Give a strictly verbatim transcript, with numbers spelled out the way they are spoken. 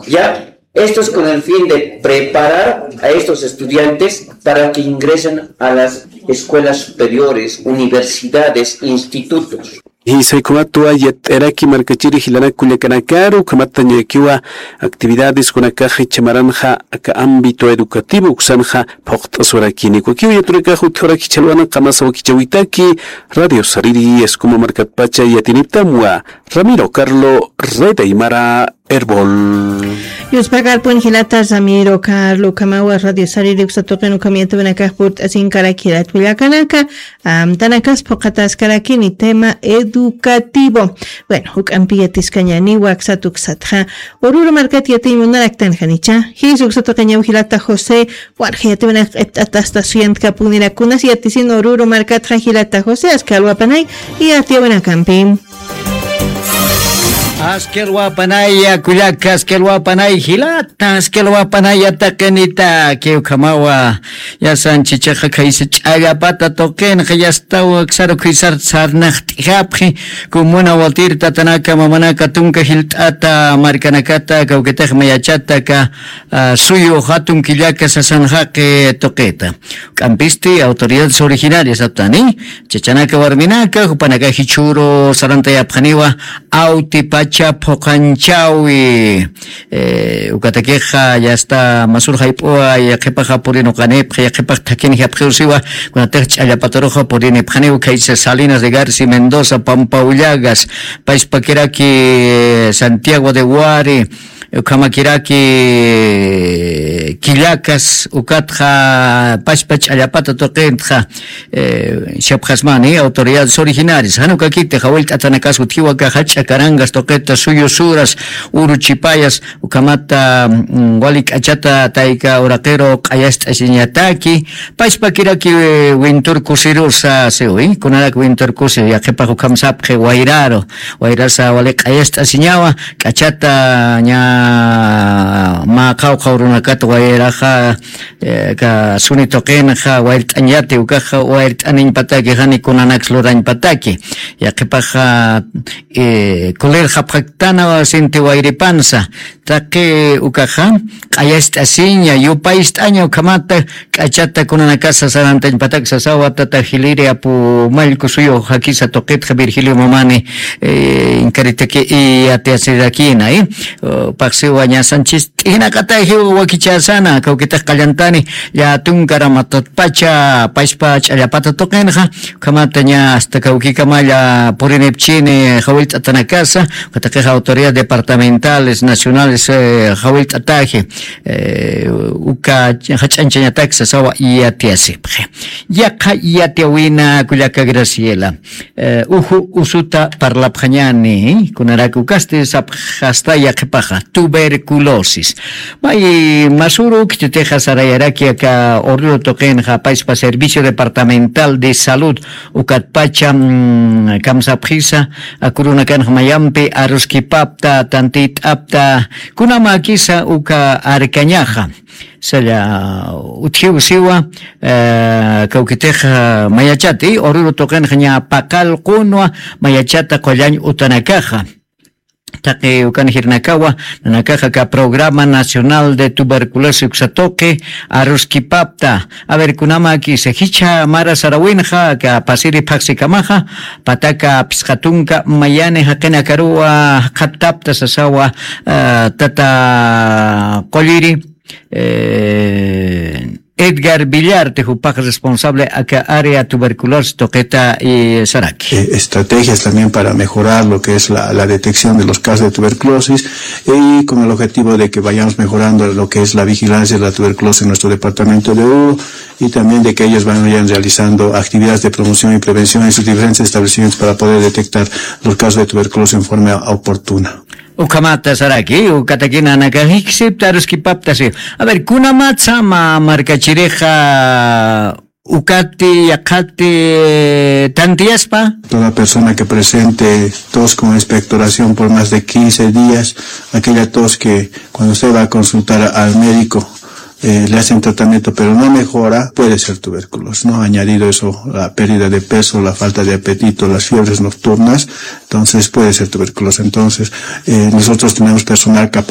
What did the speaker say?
¿Ya? Esto es con el fin de preparar a estos estudiantes para que ingresen a las escuelas superiores, universidades, institutos. Jisaykumatwa yatt'araki markachiri jilanak kullakanakaru, ukhamat ñakiwa actividades kunakax jichha maranxa aka ámbito educativo uksanxa phuqt'aswarakini. Ukakiw yatunakax utjawarak jichhalwana qamasa wakichäwitaki, Radio Sariri, Escuma markatpacha yatiniptamwa, Ramiro Carlo, Red Aymara, Erbol. Yuspakarpun jilata Ramiro Carlo, ukhamawa Radio Sariri uksa tuqin ukham yatipinakax purt'asinkarak jilat kullakanaka, amtanakas phuqataskarakini tema educativo. Bueno, juk'ampi yatiskañäniwa aksat uksatxa. Oruro markat yatiñ munaraktanxa nicha. Jis uksa tuqiñaw jilata José, walja yatipinakax q'ipt'atasta suyantkapunirakunas yatisin Oruro markatxa jilata José, aski alwapanay yatiyäwinakampi. Aski alwapanaya kullaka, aski alwapanay jilata, aski alwapanaya taqinitaki, ukhamawa. Yasan chichaxa khaysa ch'allapata tuqinxa yastaw aksaru khuysar sarnaqt'ijapxi, comuna Watir tatanaka mamanaka tunka jilt'ata markanakata kawkitix mayachata aka, ah, suyu jatun killaka sasan jaqi tuqita. K'ampisti autoridades originarias aptani, chachanaka warminaka, jupanaka jichhüru sarantayapxaniwa, awtipacha phuqanchawi. Eh, ukatakixa yasta masur jayp'uwa, yaqhipaxa purinuqanipxa, yaqhipax thakinjapxiw siwa, kunatix ch'allapataruxa purinipxaniw, khaysa Salinas de García, Mendoza, Pampa Ullagas, payspakiraki, eh, Santiago de Huari, ukhamakiraki, Quillakas, ukatxa pachpa ch'allapata tuqintxa, eh, chapxasmani autoridades originarias. Jan ukakiti jawillt'atanakas utjiwa aka jach'a Carangas tuqita, suyu suras, uru chipayas, ukhamata, mm, wali k'achata tayka uraqiru q'ayast'asiñataki, pachpakiraki, eh, wintur kusirusa siwi, kunarak wintur kusi, yaqhipax ukham sapxi wayraru, wayrasa wali q'ayast'asiñawa, k'achata ña mä qawqha urunakata wayraxa, eh, aka suni tuqinxa wayrt'añati, ukaxa wayrt'aniñpataki, jani kunanaks lurañpataki. Yaqhipaxa, eh, kulirxapxaktana sinti wayripansa. Taqi ukaxa, q'ayast'asiña, yupayst'aña, ukhamata, k'achata kunanakasa sarantañpatak sasawa, tata jiliri apu mallku suyu jakisa tuqitxa Virgilio Mamani, eh, inkaritaki iyatiasirakina, eh. Paqsiwa ñasanchis t'ijnaqatajiw wakichasana, kawkitix qallantani, llatunkaramatatpacha, pachpa ch'allapata tuqinxa, ukhamata ña hasta kawkikamalla purinipchini, jawillt'atanakasa, ukataqixa autoridades departamentales, nacionales, eh, jawillt'ataji, eh, uka jach'añchañatak sasawa iyatiasipxi. Yaqha iyatiawina kullaka Graciela. Eh, uju usuta parlapxañani, kunarak ukasti sapxasta yaqhipaxa, tuberculosis. May masuru khititixa sarayaraki aka Oruro tuqinxa, pachpa Servicio Departamental de Salud, ukatpacha, mm, kamsapxisa, akurunakanxa mayampi aruskipapta, tantit'apta, kunamakisa uka arkañaxa. Saya utjiw siwa, eh, kawkitix, eh, mayachati, Oruro tuqinxa ña paqal qunwa mayachata qullañ utanakaxa. Taqi ukan jirnakawa, nanakaxa aka Programa Nacional de Tuberculosis uksa tuqi, aruskipapta. A ver, kunamakisa, jichha mara sarawinxa, aka pasiri phaxsikamaxa, pataka phisqa tunka mayani jaqinakaruwa jaqhattapta sasawa, eh, tata qulliri, eh, Edgar Villarte, jupax responsable aka área tuberculosis tuqita, eh, saraki. Eh, estrategias también para mejorar lo que es la, la detección de los casos de tuberculosis y con el objetivo de que vayamos mejorando lo que es la vigilancia de la tuberculosis en nuestro departamento de Oruro y también de que ellos vayan realizando actividades de promoción y prevención en sus diferentes establecimientos para poder detectar los casos de tuberculosis en forma oportuna. Ukhamata saraki, ukatakina nanaka jiksipta aruskipapta si. A ver, kunamatsa mä markachirixa ukati, yaqhati, tantiyaspa. Toda persona que presente tos con expectoración por más de quince días, aquella tos que cuando usted va a consultar al médico, eh, le hacen tratamiento pero no mejora, puede ser tuberculosis, ¿no? Añadido eso, la pérdida de peso, la falta de apetito, las fiebres nocturnas, entonces puede ser tuberculosis. Entonces, eh, nosotros tenemos personal capacitado